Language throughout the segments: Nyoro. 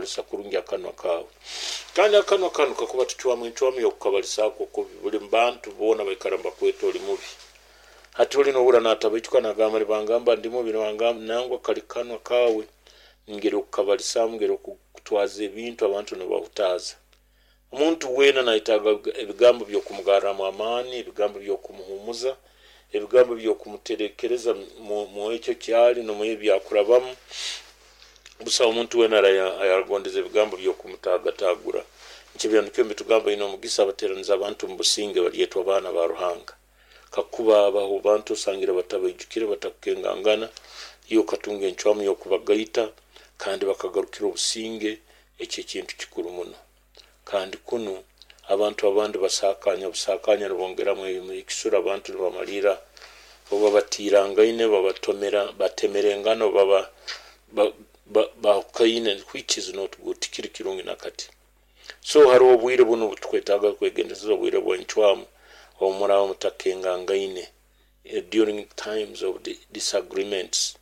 Kukozesa kurungi akanwa kaawe. Kandi akanwa kanu kakuba tucwamu encwamu y'okukabalisaako kubi, buli bantu boona baikara nibakweta oli mubi. Hati oli nohurra natabaijuka, nagamba, "Nibangamba ndi mubi, nibangamba." Nangwa, kali kanwa kaawe, ngeri okukabalisaamu, ngeri okutwaza ebintu, abantu nibahutaaza. Omuntu weena nayetaaga ebigambo by'okumugarramu amaani, ebigambo by'okumuhuumuza, ebigambo by'okumuterekereza mu ekyo kyali n'omu ebi akurabamu. Busaho omuntu weena ayaragondeze ebigambo by'okumutaagataagura. Nikyo Ebyahandiikirwe nibitugamba, "Baine omugisa abateraniza abantu mu businge, balyetwa baana ba Ruhanga." Kakuba habaho bantu osangire batabaijukire, batakukengangana, iwe okatunga encwamu y'okubagaita kandi bakagarukira obusinge, ekyo ekintu kikuru muno. Kandi kunu abantu abandi basaakanya busaakanya, nibongeramu ekisura, abantu nibamalirra oba batiirangaine, babatomera, batemerengana, oba bahukaine, which is not good, tikiri kirungi nakati. So haroho obwire bunu obutukwetaaga kwegendereza, obwire bw'encwamu obu muraaba mutakengangaine, during times of disagreements.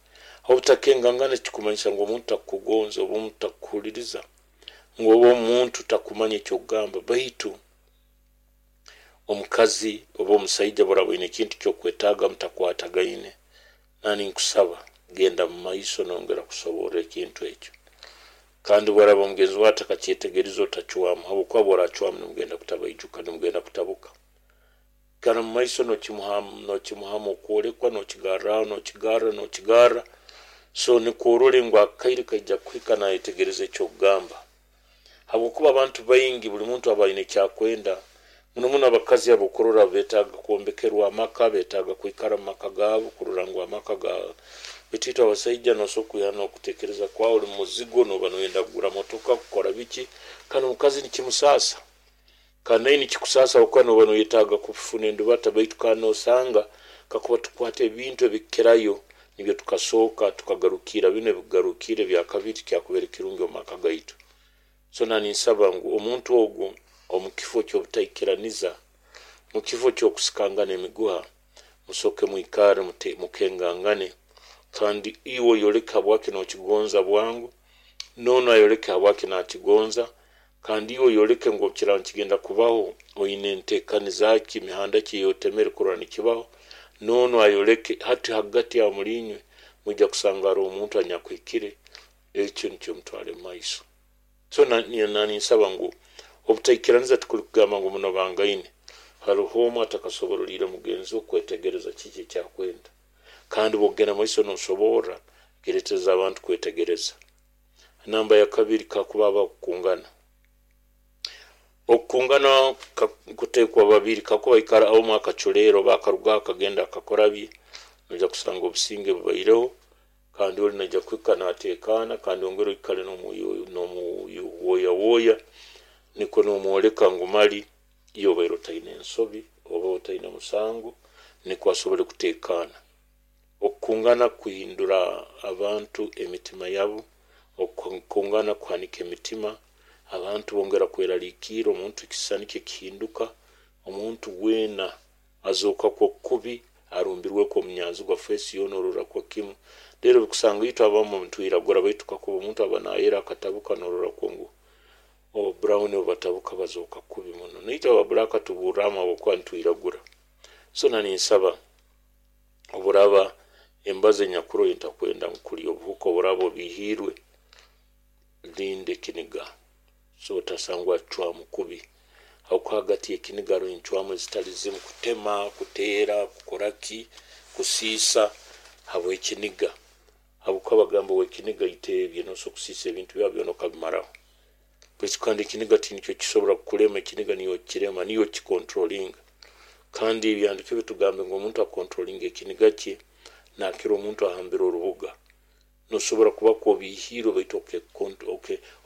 Obutakengangana tikikumanyisa ngu omuntu takukugonza, oba omuntu takukuhuliriza, ngu oba omuntu takumanya eky'okugamba. Baitu omukazi oba omusaija buraaba oine ekintu ky'okwetaaga mutakwatagaine, nani nkusaba genda mu maiso nongera kusoborra ekintu ekyo. Kandi bwaraba omugenzi wawe atakakyetegerize, otacwamu, habwokuba bworacwamu nimugenda kutabaijuka, nimugenda kutabuka. Ikara mu maiso nokimuhamu okwolekwa, nokigarraho, nokigarra, nokigarra, so nikwo orole ngu akaire kaija kuhika nayetegereza ekyokugamba. Habwokuba abantu baingi, buli muntu aba aine ekyakwenda. Muno muno abakazi abo okurora betaaga kwombekerwa amaka, betaaga kwikara mu maka gaabo, kurora ngu amaka ga. Baitu itwe abasaija nosobora kwiha n'okutekereza kwawe oli muzigo, noba noyenda kugura motoka, kukora biki, kandi omukazi nikimusaasa. Kandi naye nikikusaasa habwokuba noba noyetaaga kufuna endubata. Baitu kandi nosanga kakuba tukwata ebintu ebikukirayo, nibyo tukasooka tukagarukira binu ebikugarukire ebyakabiri, kyakubaire kirungi omu maka gaitu. So naninsaba ngu omuntu ogu, omu kifo ky'obutaikiraniza, mu kifo ky'okusikangana emiguha, musooke mwikale mukengangane. Kandi iwe oyoleke habwaki nokigonza bwangu, noonu ayoleke habwaki nakigonza. Kandi iwe oyoleke ngu kiraba nikigenda kubaho, oine entekaniza ki, mihanda ki eyotemere kurora nikibaho, noonu ayoleke. Hati hagati aho muliinywe mwija kusanga haroho omuntu anyakuhikire, ekyo nikyo mutwale mu maiso. So naninsaba ngu obutaikiraniza tikuli kugamba ngu munobangaine. Haroho omu atakasoboroliire mugenzi we kwetegereza kiki ekyakwenda. Kandi bwogenda maiso nosoborra, kiretereza abantu kwetegereza. Namba ya kabiri, kakuba habaho okukungana. Okukungana kutekwa babiri. Kakuba ikara omu akaculeera oba akarugaho akagenda akakora bye, noija kusanga obusinge bubaireho, kandi oli naija kuhika nateekaana. Kandi ongere oikale nomuwoyawooya, nikwo nomwoleka ngu mali iwe obaire otaine ensobi oba otaine musango, nikwo asobole kuteekaana. Okukungana kuhindura abantu emitima yabo, okukungana kuhanika emitima, abantu bongera kweraliikirra, omuntu ekisisani kye kihinduka, omuntu weena azooka kwo kubi arumbirwekwo omunyanzigwa, face yoona ororakwo kimu. Rero bikusanga itwe abamu nitwiragura, baitu kakuba omuntu aba nayera akatabuka, nororakwo ngu brown obu batabuka bazooka kubi muno. Naitwe aba black tuburramu habwokuba nitwiragura. So naninsaba oburaba embazo enyakuru entakwenda ngu kulya obuhuka, oburaba obihiirwe, linda ekiniga so otasangwa cwamu kubi, habwokuba hagati y'ekiniga haroho encwamu ezitali zimu: kutema, kuteera, kukora ki, kusiisa habw'ekiniga. Habwokuba bagamba, "Ow'ekiniga iteebye." Nosobora kusiisa ebintu byawe byona okabimaraho. Baitu kandi ekiniga tinikyo kisobora kukulema, ekiniga niyo kirema, niyo kicontrollinga. Kandi Ebyahandiikirwe bitugambe ngu omuntu acontrollinga ekiniga kye nakira omuntu ahambire orubuga. Nosobora kuba kwobihiirwe, baitu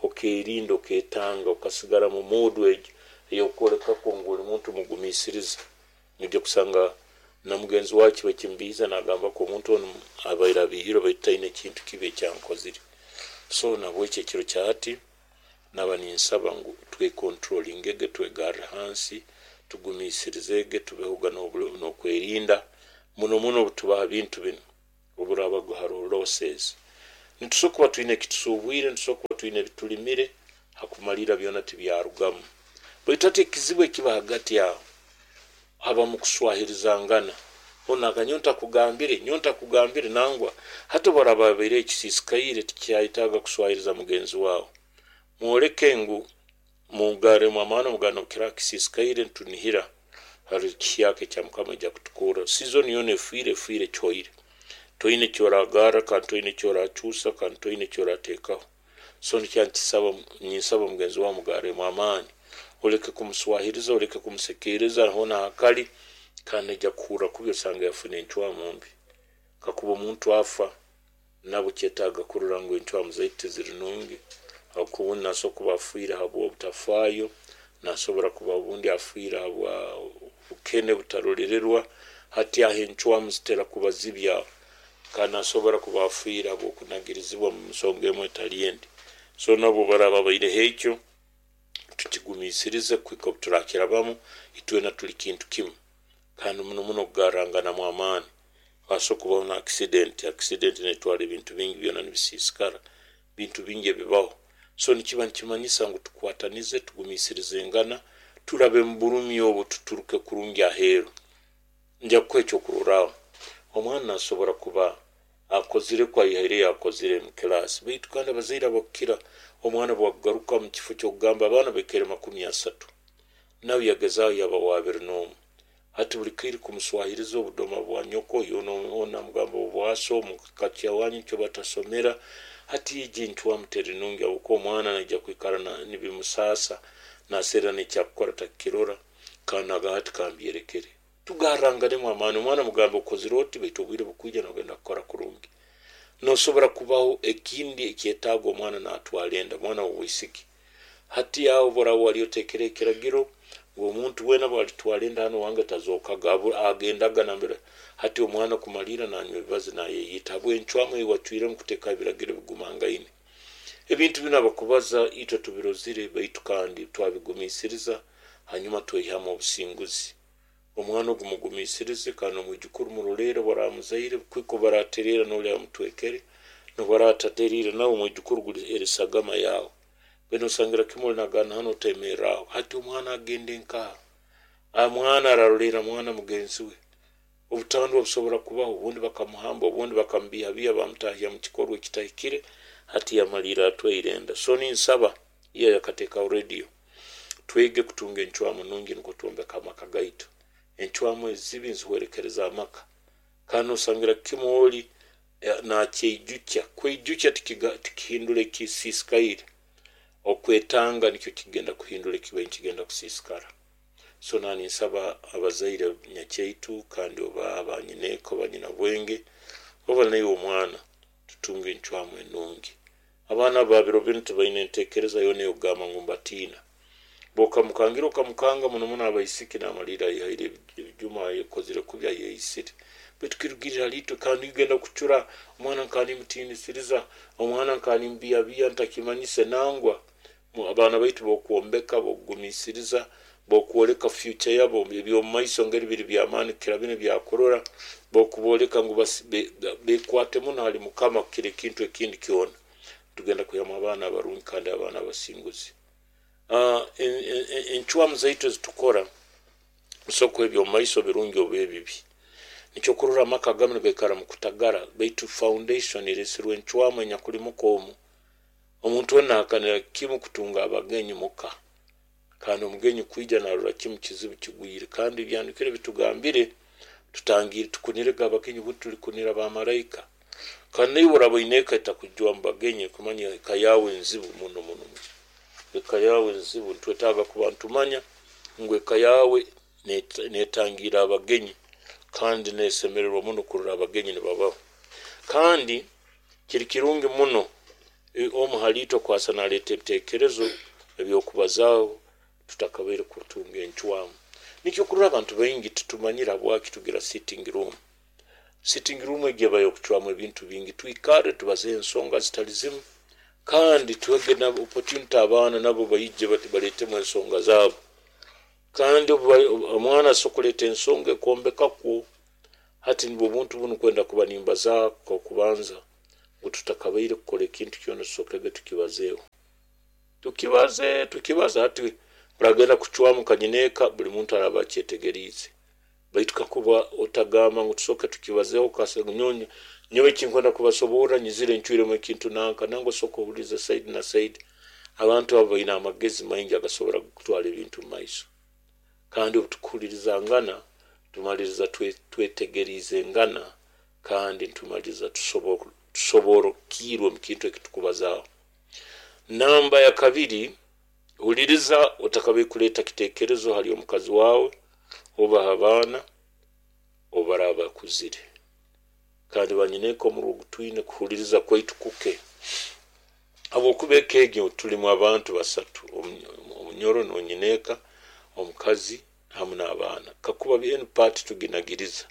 okerinda, oketanga, okasigara mu mood egyo ey'okwolekako ngu oli muntu mugumiisiriza. Noija kusanga na mugenzi wawe kiba kimubiihiza, nagamba ko omuntu onu abaire abihiirwe, baitu taine ekintu kibi ekyankozire. So nabweki ekiro kya hati naba ninsaba ngu twecontrollingege, twegarre hansi, tugumiisirizege, tubehoga n'okwerinda muno muno obutubaha bintu binu, oburabaga haroho losses. Nitusobora kuba twine ekitusuubwire, nitusobora kuba twine ebitulimire, hakumalira byona tibyarugamu. Baitu hati ekizibu ekiba hagati aho, habamu kuswahirizangana. Onu nyowe ntakugambire, nyowe ntakugambire, nangwa. Hati obu araaba abaire ekisiisikaire, tikyayetaaga kuswahiriza mugenzi wawe. Mwoleke ngu mugarremu amaani, mugambe nobukiraaba kisiisikaire nitunihira hali kihyaka ekya Mukama aija kutukorra. Season yoona efiire, efiire kihoire. Toine ekyoragarra kandi toine ekyorakyusa kandi toine ekyorateekaho. So nikyo ninsaba mugenzi wawe mugarremu amaani. Oleke kumuswahiriza, oleke kumusekeereza hoona hakali, kandi naija kuhurra kubi osange yafuna encwamu mbi. Kakuba omuntu afa, nabwo kyetaaga kurora ngu encwamu zaitu tiziri nungi, habwokuba obundi nasobora kuba afiire habw'obutafaayo, nasobora kuba obundi afiire habwa bukene butarolererwa. Hati aho encwamu zitera kuba zibi aho. Kandi nasobora kuba afiire habw'okunagirizibwa mu nsonga emu etali endi. So nabo baraaba baireho ekyo, tukigumiisirize kuhika obu turakirabamu, itwena tuli kintu kimu. Kandi muno muno kugarranganamu amaani. Hasobora kubaho na accident, accident netwara ebintu bingi byona nibisiisikara, bintu bingi ebibaho. So nikiba nikimanyisa ngu tukwatanize, tugumiisirizengana, turabe mu burumi obu tuturuke kurungi aheeru. Nja kukuha ekyokurorraho, omwana nasobora kuba akozire kwo aihaireyo akozire mu kilaasi, baitu kandi abazaire abakukira omwana bwakugaruka mu kifo ky'okugamba abaana baikaire 30, nawe yagezaaho yaba wa 21. Hati buli kaire kumuswahiriza obudoma bwa nyoko, onu namugamba obwaso, omu ka kyawanyu nikyo batasomera. Hati egi encwamu teri nungi habwokuba omwana naija kwikara nibimusaasa, naserra n'ekyakukora takukirora, kandi nagamba hati kambyerekere. Tugarranganemu amaani, omwana mugambe okozire oti baitu obwire bukwija nogenda kukora kurungi. Nosobora kubaho ekindi ekyetaaga omwana natwara enda, omwana w'obwisiki. Hati aho obu wali oteekere ekiragiro ngu omuntu weena bwalitwara enda hanu owange tazookaga, agendaga nambere. Hati omwana kumalirra nanywa ebibazi nayeyita habw'encwamu ei wacwiremu kuteekaho ebiragiro ebigumangaine. Ebintu binu abakubaza itwe tubirozire, baitu kandi twabigumiisiriza hanyuma tweyihamu obusinguzi. Omwana ogu mugumiisirize kandi omwijukuru muroleere obu aramuzaire, kuhika obu aratereera noli amutwekere, nobu aratateriire nawe omwijukuru guli eri sagama yawe. Mbwenu osangira kimu oli nagamba hanu otemerraho. Hati omwana agende nkaha? Omwana araroleera mwana mugenzi we. Obutandwa busobora kubaho, obundi bakamuhamba, obundi bakamubiihabiiha bamutahya mu kikorwa ekitahikire, hati yamaliira atwaire enda. So ninsaba iyo yakateekaho radio, twege kutunga encwamu nungi nukwo twombeke amaka gaitu. Encwamu ezibi nzihwerekereza amaka. Kandi nosangira kimu oli nakyeijukya. Kweijukya tikihindura ekisiisikaire. Okwetanga nikyo kigenda kuhindura ekibaire nikigenda kusiisikara. So naninsaba abazaire nyakyaitu kandi oba abanyineeka oba nyinabwenge oba naiwe omwana tutunge encwamu enungi. Abaana ba biro binu tibaine enteekereza yoona ey'okugamba ngu mbatiina. Bw'okamukangira okamukanga muno muno abaisiki namalirra aihaire ebijuma ayekozire kubi ayeyisire. Baitu kirugirra hali itwe kandi genda kucura omwana nkaba nimutiinisiriza, omwana nkaba nimbiihabiiha ntakimanyise nangwa. Abaana baitu b'okwombeka, b'okugumiisiriza, b'okwoleka future yabo eby'omu maiso ngeri biri by'amaani kukira binu ebyakurora, b'okubooleka ngu bekwate muno hali Mukama kukira ekintu ekindi kyona. Tugenda kwihamu abaana abarungi kandi abaana abasinguzi. Encwamu zaitu ezitukora zisobora kuba eby'omumaiso birungi oba ebibi. Nikyo kurora amaka agamu nigaikara mu kutagara, baitu foundation eresirwe encwamu enyakuli muka omu. Omuntu weena nahakanira kimu kutunga abagenyi muka. Kandi omugenyi kwija narora kimu kizibu kigwire. Kandi ebyandikire bitugambire tutangire tukunirege abagenyi bundi tulikunira bamalaika. Kandi naiwe oraba oine eka etakujwamu bagenyi kumanya eka yawe nzibu muno muno. Eka yawe nzibu, nitwetaaga kuba nitumanya ngu eka yawe netangira abagenyi kandi nesemererwa muno kurora abagenyi nibabaho. Kandi kiri kirungi muno omu haliitwe kwasa naleeta ebiteekerezo eby'okubazaaho tutakabaire kutunga encwamu. Nikyo kurora abantu baingi titumanyire habwaki tugira sitting room. Sitting room egi eba y'okucwamu ebintu bingi, twikarre tubaze ensonga zitali zimu kandi tuhege na opportunity abaana nabo baije baleetemu ensonga zaabo. Kandi omwana asobora kuleeta ensonga ekwombeka kwo. Hati nibwo obuntu bunu kwenda kuba nimbazaaho okubanza. Ngu tutakabaire kukora ekintu kyona, tusookege tukibazeeho. Tukibaze, tukibaze. Hati oragenda kucwamu kanyineeka, buli muntu araaba akyetegeriize. Baitu kakuba otagamba ngu tusooke tukibazeeho, nyowe ekinkwenda kubasoborra, nyizire ncwiremu ekintu nanka, nangwa osooka ohulirize side na side. Abantu abo baine amagezi maingi agasobora kutwara ebintu mu maiso. Kandi obu tukuhulirizangana, tumaliriza twetegeriizengana, kandi ntumaliriza tusoborokiirwe omu kintu eki tukubazaaho. Namba ya kabiri, huliriza otakabaire kuleeta kiteekerezo hali omukazi wawe oba ha baana obu baraaba bakuzire. Kandi banyineeka, omurwa ogutwine kuhuliriza kwaitu kuke, habwokuba eka egyo tulimu abantu basatu: omunyoro nonyineeka, omukazi hamu n'abaana. Kakuba enu part tuginagiriza,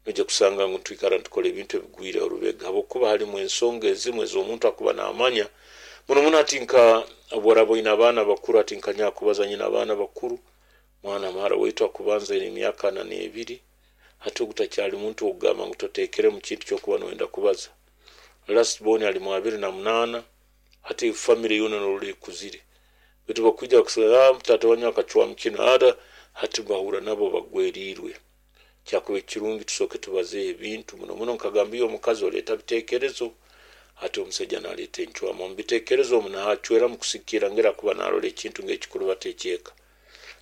noija kusanga ngu twikara nitukora ebintu ebigwire orubega, habwokuba halimu ensonga ezimu ez'omuntu akuba naamanya muno muno. Hati nka obu oraaba oine abaana bakuru, hati nka nyakubaza nyina abaana bakuru, mwana muhara waitu akubanza aine emyaka 42. Hati ogu takyali muntu okugamba ngu toteekeremu kintu kyokuba noyenda kubaza. Last born ali mu 28. Hati family yoona norora ekuzire, baitu bakwija bakusaba, "Taata wanyu akacwamu kinu." Ada hati bahura nabo bagweriirwe. Kyakuba ekirungi tusooke tubazeeho ebintu muno muno. Nkagamba, iyo omukazi oleeta biteekerezo, hati omusaija naleeta encwamu. Omu biteekerezo omu nahacweramu kusikira ngeri akuba narora ekintu ng'ekikurubata ekyeka.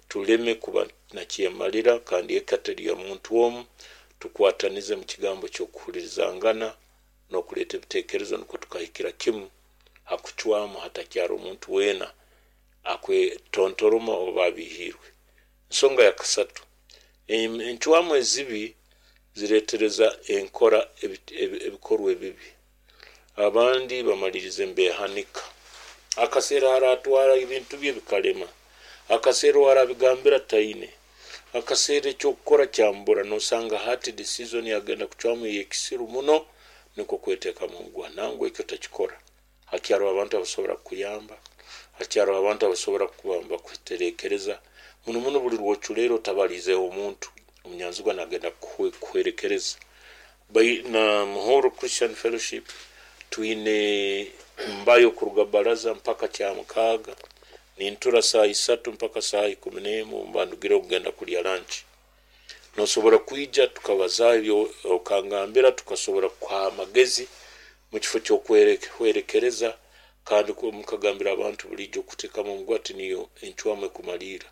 Tuleme kuba nakyemalira, kandi eka teri ya muntu omu. Tukwatanize mu kigambo ky'okuhulirizangana n'okuleeta ebiteekerezo, nukwo tukahikira kimu hakucwamu, hatakyara omuntu weena akwetontoroma oba abihiirwe. Ensonga ya kasatu, encwamu ezibi zireetereza enkora ebikorwa ebibi. Abandi bamalirize nibeehanika. Akaseera haratwara ebintu bye bikalema, akaseera warabigambira taine, akaseera ekyokukora kyambura. Nosanga hati decision yagenda kucwamu ey'ekisiru muno, nikwo kweteekamu omuguha. Nangwa ekyo takikora. Hakyariho abantu abasobora kukuyamba, hakyariho abantu abasobora kuba nibakuterekereza. Muno muno buli rwoculeera otabaliizeho omuntu, omunyanzigwa nagenda kuhwerekereza. Na Muhoro Christian Fellowship twine mbayo kuruga baraza mpaka Kyamukaaga, nintura saaha 3 mpaka saaha 11, mba ndugire kugenda kulya lunch. Nosobora kwija tukabazaaho ebyo okangambira, tukasobora kukuha amagezi mu kifo ky'okuhwerekereza. Kandi mukagambira abantu buliijo okuteekamu omuguha tiniyo encwamu ekumaliira.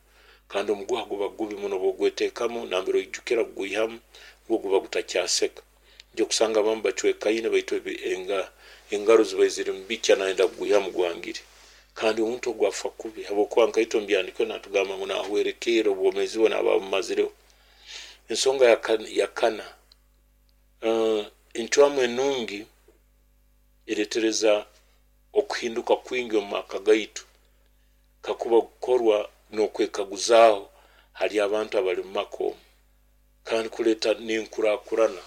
Kandi omuguha guba gubi muno bwogweteekamu, nambere oijukira kugwihamu gwo guba gutakyaseka. Nja kusanga abamu bacwekaine, baitu engaro zibaire ziri mubikya, nayenda kugwihamu gwangire. Kandi omuntu ogu afa kubi, habwokuba nkaitwe omu byahandiikirwe natugamba ngu nahwerekerra, obwomeezi bwe naaba abumazireho. Ensonga ya kana, encwamu enungi ereetereza okuhinduka kwingi omu maka gaitu, kakuba kukorwa n'okwekaguzaaho hali abantu abali mu maka omu, kandi kuleeta n'enkurakurana.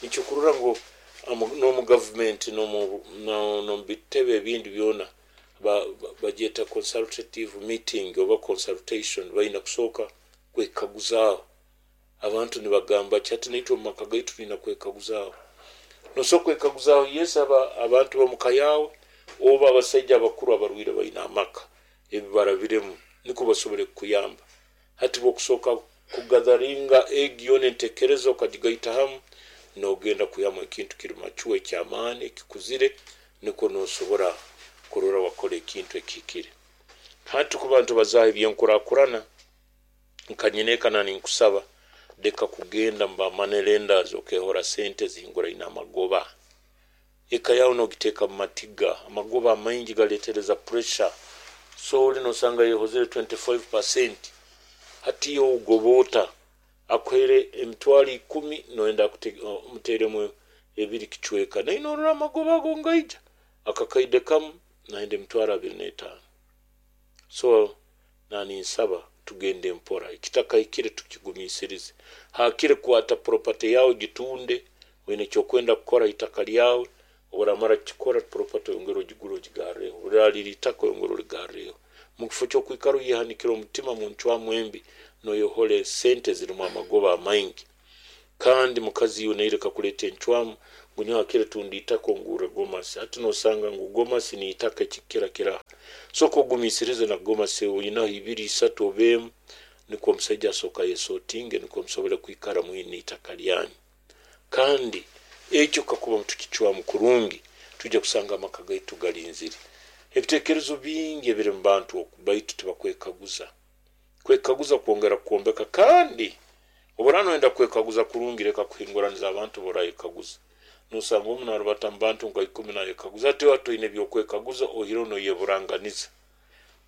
Nikyo kurora ngu n'omu gavumenti n'omu bitebe ebindi byona bagyeta consultative meeting oba consultation. Baine kusooka kwekaguzaaho abantu nibagamba ki. Hati naitwe omu maka gaitu twine kwekaguzaaho. Nosobola kwekaguzaaho, yes, abantu b'omuka yaawe oba abasaija abakuru abarwaire baine amaka ebi barabiremu, nikwo basobole kukuyamba. Hati bwokusooka kugatheringa egi yoona enteekereza okagigaita hamu, nogenda kwihamu ekintu kiri mature, eky'amaani, ekikuzire, nikwo nosobora kurora wakora ekintu ekihikire. Hati kuba nitubazaaho ebyenkurakurana, nka nyineeka ninkusaba, leka kugenda mu ba money lenders okehora sente zihinguraine amagoba. Eka yawe nogiteeka mu matiga. Amagoba amaingi galeetereza pressure. So oli nosanga yehozere 25%. Hati iwe ogoba ota? Akuhaire 100,000, noyenda omuteeremu ebiri kicweka, naye norora amagoba ago ngaija akakaide kamu nayenda 25,000. So naninsaba tugende mpora, ekitakahikire tukigumiisirize. Hakiri kwata property yawe gitunde, oine ekyokwenda kukora itaka lyawe. Oburamara kukikora, property oyongere ogigure ogigarreho, obu itaka oyongere origarreho, mu kifo ky'okwikara oyehanikire omutima mu ncwamu embi, noyohora sente zirimu amagoba amaingi. Kandi mukazi iwe naireka kuleeta encwamu. Ngu nyowe hakire tunda itaka ongurre gomasi. Hati nosanga ngu gomasi n'itaka ekikukira kiraha. Sooka ogumiisirize na gomasi oinaho ibiri, isatu oba emu nikwo omusaija asooke ayesotinge nikwo musobole kwikara mwine itaka lyanyu. Kandi ekyo kakuba mutukicwamu kurungi, twija kusanga amaka gaitu galinzire. Ebitekerezo bingi ebiri mu bantu oku baitu tibakwekaguza. Kwekaguza kwongera kwombeka kandi obu oraaba noyenda kwekaguza kurungi leka kuhinguraniza abantu borayekaguza. Nosanga omu narubata mu bantu nka ikumi nayekaguza hati iwe toine ebyokwekaguza oihireho noyeburanganiza.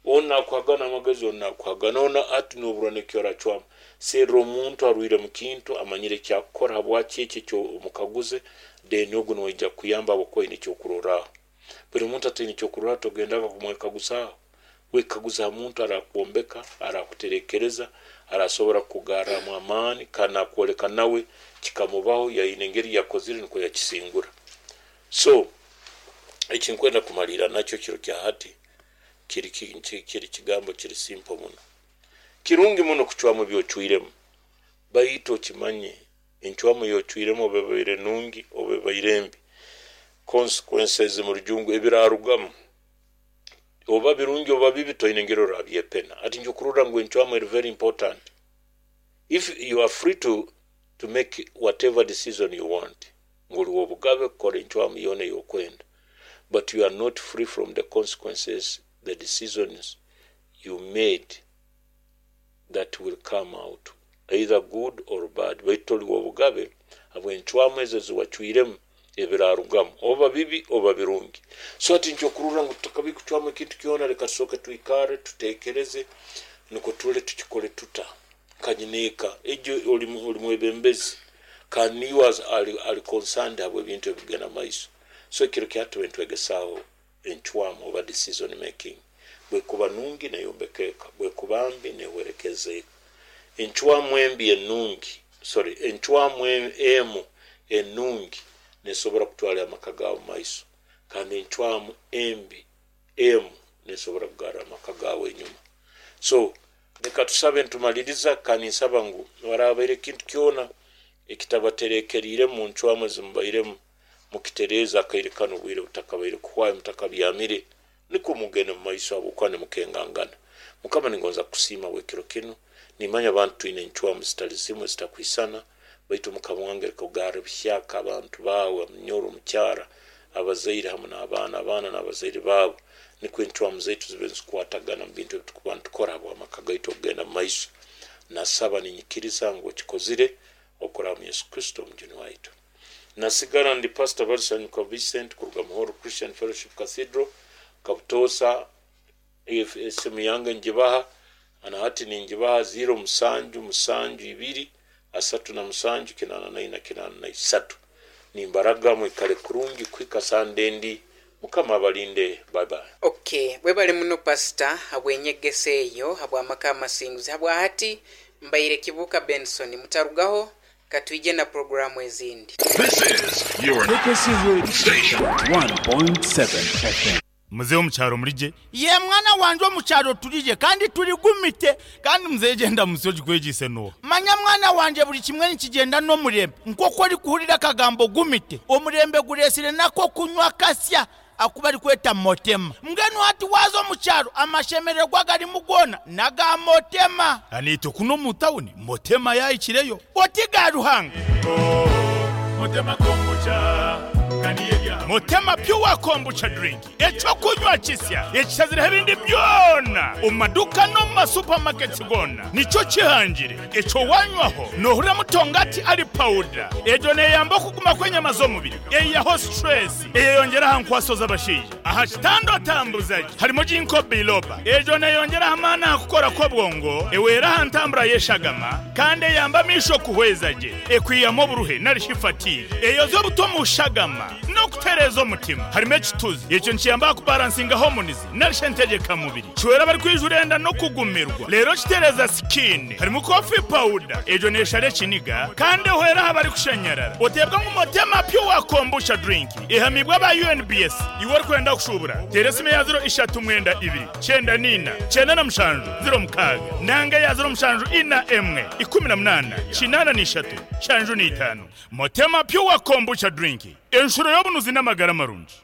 Onu nakuhagana amagezi onu nakuhagana onu hati noburwa nekyoracwamu. Serra omuntu arwire mu kintu amanyire ekyakukora habwaki ekyo ekyomukaguze then ogu naija kukuyamba habwokuba oine ekyokurorraho. Buli muntu ataine ekyokurorraho togendaga kumwekaguzaaho. Wekaguze ha muntu arakwombeka, arakuterekereza, arasobora kukugarramu amaani kandi nakwoleka nawe kikamubaho yaine engeri yakozire nukwo yakisingura. So ekinkwenda kumaliira nakyo kiro kya hati kiri kiri kigambo kiri simple muno. Kirungi muno kucwamu ebyocwiremu baitu okimanye encwamu eyocwiremu oba ebaire nungi oba ebaire mbi, consequences mu rujungu ebirarugamu oba birungi oba bibi toine engeri orabyepena. Hati nyokurora ngu encwamu eri very important. If you are free to make whatever decision you want, ngu oli w'obugabe kukora encwamu yoona ey'okwenda, but you are not free from the consequences the decisions you made that will come out either good or bad, baitu toli w'obugabe habw'encwamu ezo eziwacwiremu ebirarugamu oba bibi oba birungi. So hati nikyokurorra ngu tutakabaire kucwamu ekintu kyona leka tusooke twikarre tutekereze nukwo turole tukikole tuta nka nyineeka. Egyo oli mwebembezi kandi niiwe ali concerned habw'ebintu ebikugenda mumaiso. So ekiro kya hati tube nitwegesaaho encwamu oba decision making. Bwekuba nungi neyombeka eka, bwekuba mbi nehwerekereza eka. Encwamu embi enungi, sorry, encwamu emu enungi nesobora kutwara amaka gaawe mumaiso kandi encwamu embi emu nesobora kugarra amaka gaawe enyuma. So leka tusabe nitumaliriza kandi ninsaba ngu harabaire ekintu kyona ekitabaterekeriiremu muncwamu ezimubairemu mukitereeze akaire kanu obwire butakabaire kuhwayo mutakabyamire nikwo mugende mumaiso habwokuba nimukengangana. Mukama ningonza kukusiima habw'ekiro kinu. Nimanya abantu twine encwamu zitali zimu ezitakwisana baitu Mukama wange leka ogarre buhyaka abantu baawe omunyoro omukyara, abazaire hamu n'abaana, abaana n'abazaire baabo nikwo encwamu zaitu zibe nizikwatagana mu bintu ebitukuba nitukora habw'amaka gaitu okugenda mumaiso. Nasaba ninyikiriza ngu okikozire okuraba mu Yesu Kristo omujuni waitu. Nasigara ndi Pastor Balisanyuka Vincent kuruga Muhoro Christian Fellowship Cathedral Kabutoosa. Esimu yange ngibaha na hati ningibaha ziro musanju musanju ibiri asatu na musanju kinana naina kinana na isatu. Nimbaraga mwikale kurungi kuhika Sande endi. Mukama abalinde. Bye bye. Ok webale muno pastor habwenyegesa eyo habwamaka amasinguzi habwahati mbaire Kibuuka Benson mutarugaho katwije na program ezindi. This is your KKC Radio station. 1.7 FM. Muzei omu kyaro mulije. Yee mwana wangye omu kyaro turije kandi turigumite. Kandi muzei gyenda munsi ogikwegyeise nooha? Manya mwana wangye buri kimwe nikigyenda n'omurembe. Nk'oku orikuhurira akagambo gumite, omurembe gureetsire n'ak'okunywa akasya aku barikweta Motema. Mbwenu hati waaza omu kyaro amashemererwa agarimu goona n'aga Motema. Naitwe kunu omu tawuni Motema yaahikireyo. Oti ga Ruhanga. Motema Pure Kombucha Drink, eky'okunywa kisya ekishazireho ebindi byona omu maduuka n'omu ma supermarkets goona nikyo kihangire. Ekyo wanywaho nohurira mutongati ari pawuda. Egyo neyamba okuguma kw'enyama z'omubiri, eyihaho stress, eyeyongyera aha nkwaso z'abashaija. Aha kitanda otambuza gye harimu Ginkgo biloba. Egyo neyongyera aha maani aha kukora kw'obwongo, ehwera aha ntambura y'eshagama kandi eyamba amaisho kuhweza gye. Ekwihamu oburuhe nari shi fatigue. Eyozya obutwa omu shagama n'okutereeza omutima. Harimu ekituzi. Ekyo nikiyamba aha kubaransinga hormones nari shi entegyekamubiri. Kihwera abarikwijura enda n'okugumirwa. Reero kitereeza skin. Harimu coffee powder. Egyo neeshara ekiniga kandi ehwera aha barikushanyarara. Oteebwa ngu Motema Pure Kombucha Drink ehamiibwe aba UNBS. Iwe orikwenda kushuubura, teera esimu eya ziro ishatu mwenda ibiri, kyenda n'ina, kyenda na mushanju, ziro mukaaga, nanga eya ziro mushanju ina emwe, ikumi na munaana, kinaana n'ishatu, nshanju n'itaano. Motema Pure Kombucha Drink. Enshuro y'obunuzi n'amagara marungi.